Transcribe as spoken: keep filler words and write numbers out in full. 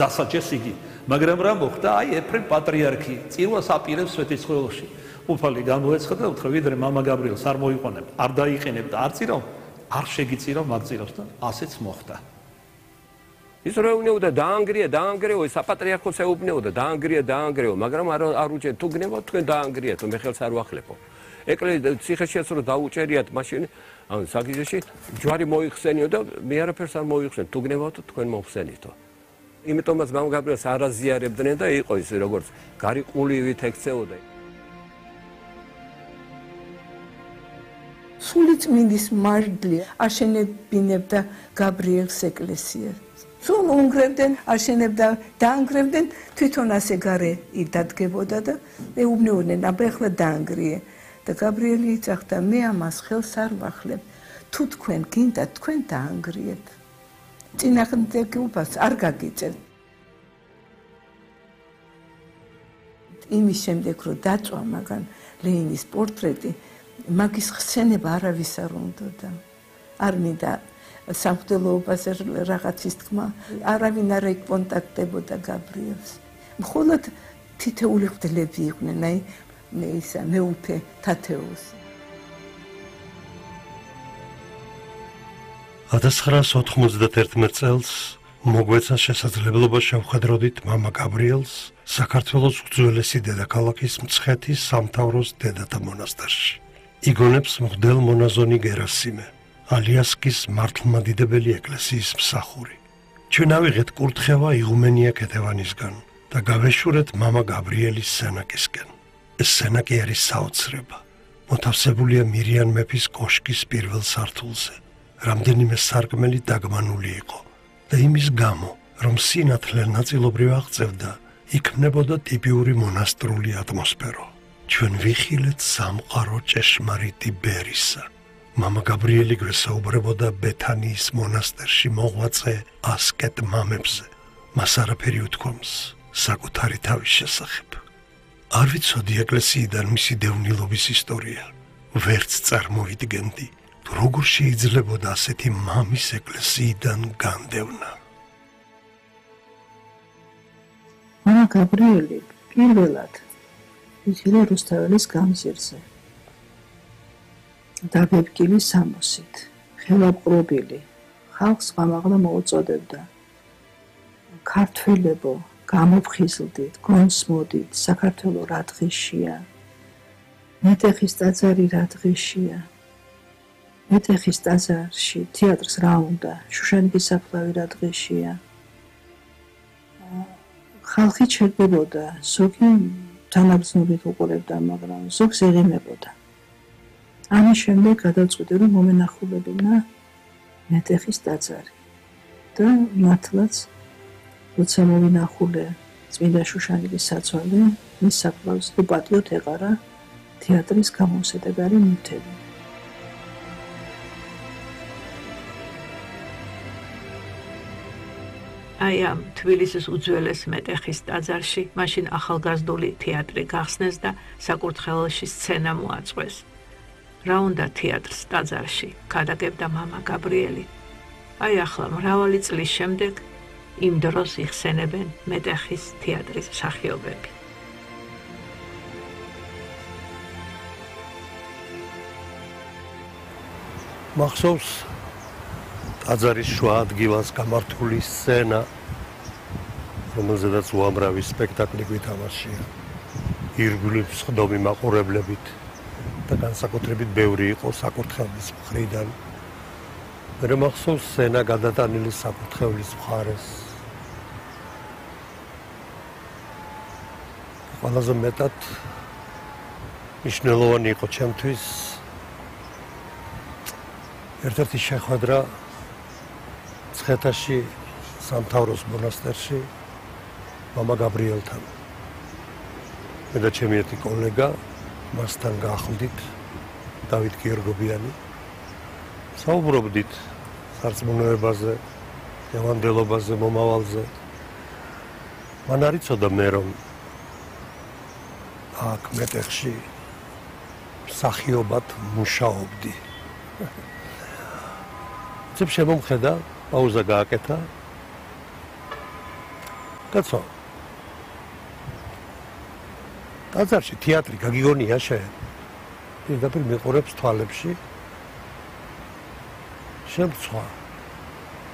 დასაჯეს იგი, მაგრამ რა მოხდა? აი ეფრემ პატრიარქი წირვას აპირებს სვეტიცხოველში. უფალი გამოეცხადა და უთხრა, ვიდრე მამა გაბრიელს არ მოიყვანებ, არ დაიყენებ და არ წირავ, არ შეგიწირავ მაგწირავს და ასეც მოხდა. ის რა უნეოდა დაანგრია, დაანგრეო, საპატრიარქოს ეუბნეოდა, დაანგრია, დაანგრეო, მაგრამ არ არ უჭერ თუ გნებავთ თქვენ დაანგრიათ, მე ხელს არ ვახლებო. ეკლესია ციხეშიაც რო დაუჭერიათ მაშინ ან საგიზეში ჯვარი მოიხსენიო და მე არაფერს არ მოიხსენ, თუ გნებავთ თქვენ მოხსენითო. იმიტომაც მამა გაბრიელს არ აზიარებდნენ და იყო ის როგორც გარიყულივით ექცეოდა. სულიწმინდის მარჯლი აშენებინებდა გაბრიელს ეკლესიას. სულ უნგრევდნენ, აშენებდა, დაანგრევდნენ, თვითონ ასე გარე დადგებოდა და ეუბნეოდნენ, აბა ახლა დაანგრიე. და გაბრიელი იცახდა, მე ამას ხელს არ ვახლებ. თუ თქვენ გინდათ, თქვენ დაანგრიეთ. წინააღმდეგობას არ გაგიწევთ. იმის შემდეგ, რომ დაწვა მაგან ლენინის პორტრეტი, მაგის ხსენება არავის არ უნდოდა. არ მინდა სამღვდელოებაზე რაღაცის თქმა, არავინ არ ეკონტაქტებოდა გაბრიელს. მხოლოდ თითეული მღვდლები იყვნენ, აი ისა მეუფე თათეოსი. ათას ცხრაასი ოთხმოცდაერთმეტ წელს მოგვეცა შესაძლებლობა შევხედროდით მამა გაბრიელს საქართველოს უძველესი დედაქალაქის მცხეთის სამთავროს დედათა მონასტერში. იგონებს მღვდელ მონაზონი გერასიმე, ალიასკის მართლმადიდებელი ეკლესიის მსახური. ჩვენ ავიღეთ კურთხევა იღუმენია ქეთევანისგან და გავეშურეთ მამა გაბრიელის სენაკისკენ. ეს სენაკი არის საოცრება. მოთავსებულია მირიან მეფის კოშკის პირველ სართულზე. რამდენიმე სარკმელი დაგმანული იყო და იმის გამო, რომ სინათლე ნაწილობრივ აღწევდა, იქმნებოდა ტიპიური მონასტრული ატმოსფერო. ჩვენ ვიხილეთ სამყარო ჭეშმარიტი ბერისა. მამა გაბრიელი გვესაუბრებოდა ბეთანიის მონასტერში მოღვაწე ასკეტ მამებზე. მას არაფერი უთქვამს საკუთარი თავის შესახებ. არ ვიცოდი ეკლესიიდან მისი დევნილობის ისტორია. ვერც წარმოვიდგენდი, როგორ შეიძლებოდა ასეთი მამის ეკლესიიდან განდევნა. მამა გაბრიელი პირველად იცოდა რუსთაველის გამზირზე. დაბებკილი სამოსით, ხელაპყრობილი, ხალხს გამაღლა მოუწოდებდა. ქართველებო, გამოფხიზლდით, გონსმოდით, საქართველო რა დღეშია. მეტეხის ტაძარი რა დღეშია. მეტეხის ტაძარში თეატრს რა უნდა, შუშანიკის საფლავი რა დღეშია. ხალხი ჩერდებოდა, ზოგი თანაბრძნობით უყურებდა, მაგრამ ზოგს ეღიმებოდა. ამის შემდეგ გადავწყვიტე, რომ მომენახულებინა მეტეხის ტაძარი და მართლაც როცა მოვინახულე წმინდა შუშანიკის საცვალე, მის საფლავზე თუ პატიოთ ეყარა თეატრის გამომსადეგარი ნივთები. აი ამ თბილისის უძველეს მეტეხის ტაძარში მაშინ ახალგაზრდული თეატრი გახსნეს და საკურთხეველში სცენა მოაწყვეს. რა უნდა თეატრს ტაძარში, გადაგებდა მამა გაბრიელი. აი ახლა მრავალი წლის შემდეგ იმ დროს იხსენებენ მეტეხის თეატრის მსახიობები. მახსოვს ტაძარის შუა ადგილას გამართული სცენა, რომელზედაც უამრავი სპექტაკლი გვითამაშია. ირგვლივ სხდომი მაყურებლებით და განსაკუთრებით ბევრი იყო საკურთხევლის მხრიდან. მე მახსოვს სცენა გადატანილი საკურთხევლის მხარეს. ყველაზე მეტად მნიშვნელოვანი იყო ჩემთვის ერთ-ერთი შეხვედრა მცხეთაში სამთავროს მონასტერში მამა გაბრიელთან. მე და ჩემი ერთი კოლეგა მასთან გაახლდით, დავით გიორგობიანი. საუბრობდით სარწმუნოებაზე, ევანგელობაზე, მომავალზე. მან არ იცოდა მე რომ აქ მეტეხში მსახიობად მუშაობდი. ძებ შემომხედა, პაუზა გააკეთა კაცო. ტაძარში თეატრი გაგიგონია შენ? პირდაპირ მიყურებს თვალებში. შემცვა.